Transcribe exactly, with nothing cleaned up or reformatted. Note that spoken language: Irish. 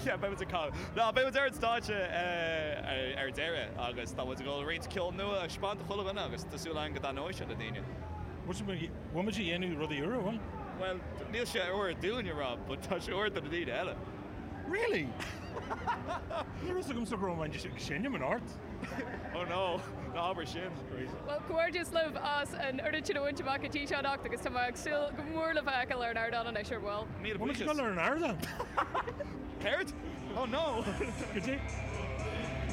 Yeah, beidh muid ag Ná beidh ar an stáitse ar deireadh agus tá muid ag dul roinnt ceol nua a thaispeáint do chuile dhuine agus tá súil againn go dtaitneoidh sé le daoine. Bhfuil muid ag déanamh rudaí úra bhfuil? Well, níl sé úr dúinne rá, but tá sé úr do na daoine eile. Really? Ní raibh agam sa gro sin an art. Oh no, ná habair sin. Well comhghairdeas libh as an oiread sin a bhaint amach go dtí seo anocht agus tá mé ag súil go mór le bheith ar an ardán anois ar ball. Míle Bhfuil buíochas. ar an ardán? Céard? Oh no! Go dtí.